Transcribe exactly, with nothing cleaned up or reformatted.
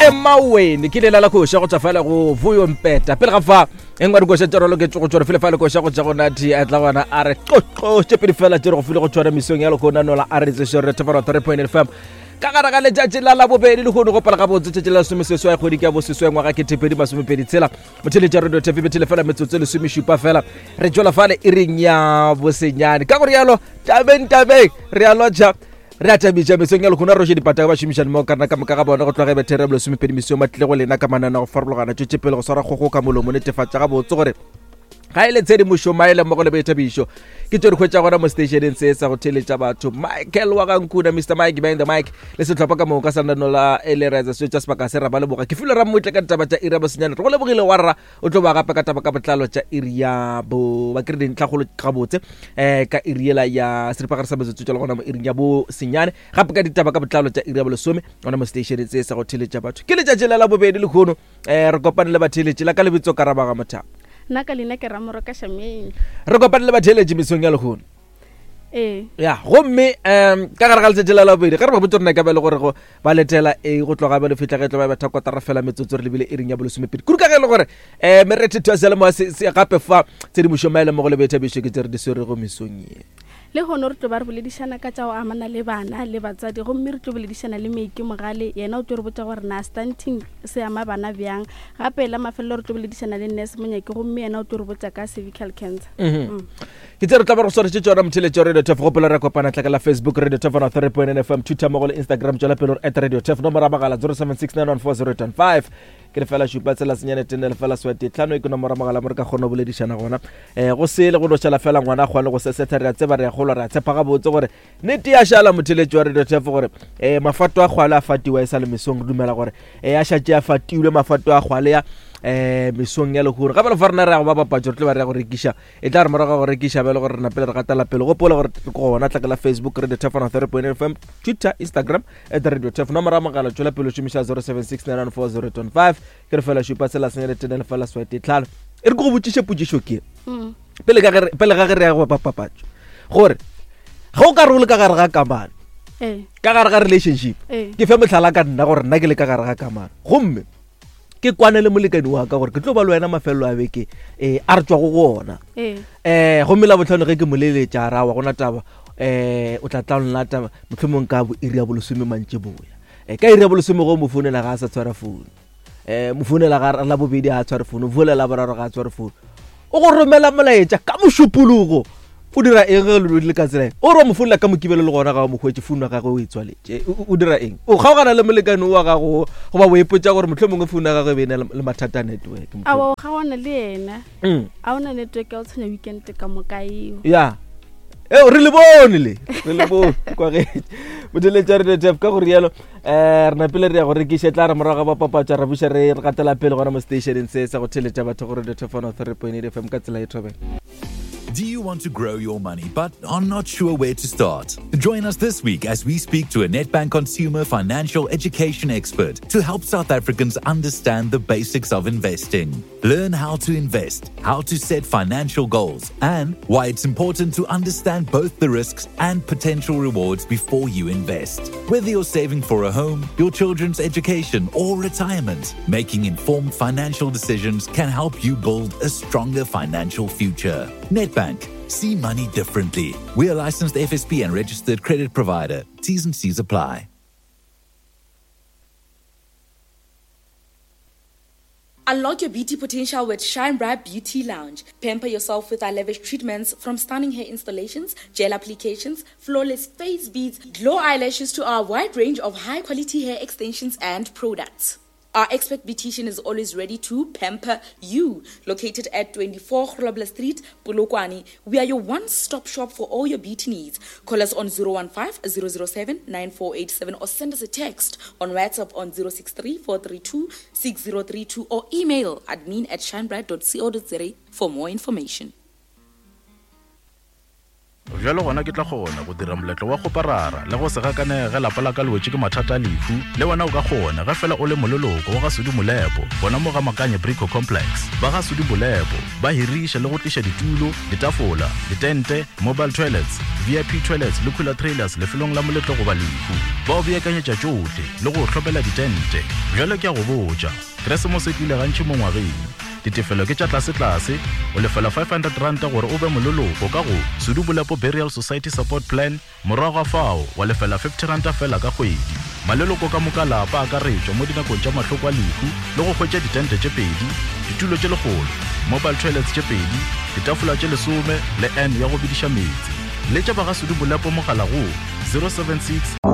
Emaweni ke lela la koša go tšwa fela go Vuyo Mpeta. Pele ga fa engwe dikoša tša rolo ke go tšwa fele fa le koša go tša go Nathi a tla gona a re qoqo tše pedi fela tše re go file go tšwa mesong ya lekona nola a re tseše re thefara three point F M ka gare ga letšatši la labobedi le kgone go pala gabotse tšatši la lesomeseswai kgwedi ke ya boseswai ngwaga ketepedi masomepedi tshela motheletša radio T V bethele fela metsotso e lesomešupa fela re tšwela fale e reng ya bosenyane ka gore yalo tabeng tabeng re a lotšha re a thabiša mesong ya lekgona roše dipata ba šomišane mo karena ka moka ga bona go tloga bethere bolesomepedi mesong ba tlile go lena ka manana go farologana tšwetše pele go swara kgogo ka molomo netefatša gabotse gore ga e le tshedimošo maele mmogo le boithabišo ke tšo di hwetša gona mo stationeng se sa go theletša batho. Michael wa Gankuna, Mister Mike behind the mic le sehlopha ka moka sa nano la Elereza se tša sebaka se ra ba leboga. Ke file ra mmotle ka ditaba tša iri ya bosenyane, re go lebogile wa rra o tlo ba gape ka taba ka botlalo tša iri ya bo ba kry dintlhakgolo gabotse um ka iri yela ya seripagare sa metsotso tša le gona mo iring ya bosenyane gape ka ditaba ka botlalo tša iri ya bolesome gona mo stationeng se sa go theletša batho. Ke letšatši la labobedi lekgono um re kopane le batheletši la ka lebitso Karabaga Mothapo. Nna ka leina ke Ramoroka Shameng. Re kopane le batheletši mesong ya lekgono. Ee. Ya, gomme um ka gare ga letšatši la labobedi ge re ba botse rena ka ba le gore go ba letela e go tloga ba le fihla ge tlo ba betha kotara fela metsotso re lebile iring ya bolesomepedi kudu ka ge e le gore um merethetho ya seyalemoya se gape fa tshedimošo maele mo go le boithabišo ke tse re di swerego mesong ye. Le hono re tlo ba re boledišana ka tša go amana le bana le batswadi, gomme re tlo boledišana le Meike Mogale, yena o tlo re botša gore na stunting se ama bana bjang. Gape la mafelelo re tlo boledišana le Nurse Monyaki, gomme yena o tlo re botša ka cervical cancer. Mm. Ke tse re tla ba re swaretše tšona motheletši wa Radio T F. Gopola re kopana tlaka la Facebook Radio T F one three point nine F M, Twitter mmogo le Instagram, tšwela pele gore at Radio T F, nomoro ya mogala zero seven six nine one four zero eight one five ke lefela šupa tsela senyane tene lefela swete tlhano e ke nomoro mogala mo re ka kgona go boledišana gona. Um go sele go no šala fela ngwana a kgone go sesetha, re a tseba re a kgolwa re a tshepa gabotse gore nnete ya šala motheletši wa Radio T F gore um mafato a kgwale a fatiwa e sa le mesong, re dumela gore um a šatše a fatilwe mafato a kgwale ya um mesong ya lehono. Gape le fa rena re ya go ba bapatso re tlo ba re ya go rekiša, e tla re morago ga go rekiša bjale gore re napele re gatela pele. Gopola gore re gona tlaka la Facebook Radio T F one three point nine F M, Twitter, Instagram at Radio T F, nomoro ya mogala tšwela pele o šomiša zero seven six nine one four zero eight one five ke re fela šupa tsela senyane tene lefela swete tlhano. E re ke go botšiše potšišo ke pele ka ge pele ga ge re ya go bapapatso gore ge o ka re o le ka gare ga kamano ka gare ga relationship, ke fe mohlala ka nna gore nna ke le ka gare ga kamano gomme ke kwane le molekane wa ka gore ke tlo ba le wena mafelelo a beke um a re tswago go ona um gomme la botlhano ge ke mo leletša a ra wa gona taba um o tla tla nna taba mohlomong ka bo iri ya bolesome mantšiboa um ka iri ya bolesome go mo founela ga a sa tshwara founu um mo founela ga la bobedi ga a tshware founu, founela la boraro ga a tshware founu, o go romela molaetša ka mošupologo o dira eng ge le le ka tsela e o re o mo founela ka mokibelo le gona ga o mo hwetše founu ya gagwe o e tswaletše, o dira eng? O kgaogana le molekane wa gago goba o ipotša gore mohlomongwe founu ya gagwe e be e na le mathata a network? Aowa, o kgaogana le yena. A ona network ya o tshwenya weekend ka moka eo. Ya eo re le bone le re le bone kwagetše motheletša Radio T F ka gore yalo um re napele re ya go rekiša tla re morago ga bapapatša ra buša re gatela pele gona mo stationeng se sa go theletša batho go Radio T F one three point eight F M ka tsela e thobela. Do you want to grow your money but are not sure where to start? Join us this week as we speak to a Nedbank consumer financial education expert to help South Africans understand the basics of investing. Learn how to invest, how to set financial goals, and why it's important to understand both the risks and potential rewards before you invest. Whether you're saving for a home, your children's education, or retirement, making informed financial decisions can help you build a stronger financial future. Nedbank. See money differently. We are licensed F S P and registered credit provider. T's and C's apply. Unlock your beauty potential with Shine Bright Beauty Lounge. Pamper yourself with our lavish treatments, from stunning hair installations, gel applications, flawless face beads, glow eyelashes to our wide range of high-quality hair extensions and products. Our expert beautician is always ready to pamper you. Located at twenty-four Grobler Street, Polokwane, we are your one-stop shop for all your beauty needs. Call us on zero one five, zero zero seven, nine four eight seven or send us a text on WhatsApp on zero six three, four three two, six zero three two or email admin at shinebright dot co dot za for more information. Bjalo gona ke tla kgona go dira moletlo wa kgoparara le go se gakanege ge lapa la ka le wetše ke mathata a lehu. Le wena o ka kgona ge fela o le moleloko wa ga Sudi Molepo gona mo ga Makanye Brico Complex. Ba ga Sudi Molepo ba hiriša le go tliša ditulo, ditafola, ditente, mobile toilets, V I P toilets le cooler trailers lefelong la moletlo goba lehu. Ba o beakanyetša tšohle le go o hlomela ditente. Bjale ke a go botša, Keresemose e tlile gantši mo ngwageng. Ditefelo ke tša tlasetlase, o lefela five hundred ranta gore o be moleloko ka go Sudu Bolepo Burial Society Support Plan, morago ga fao wa lefela fifty ranta fela ka kgwedi. Maleloko ka moka lapa a akaretšwa mo dinakong tša mahloko a lehu le go hwetša ditente tše pedi, ditulo tše lekgolo, mobile toilets tše pedi, ditafola tše lesome le N ya go bidiša meetse. Letša ba ga Sudu Bolepo mogala go zero seven six.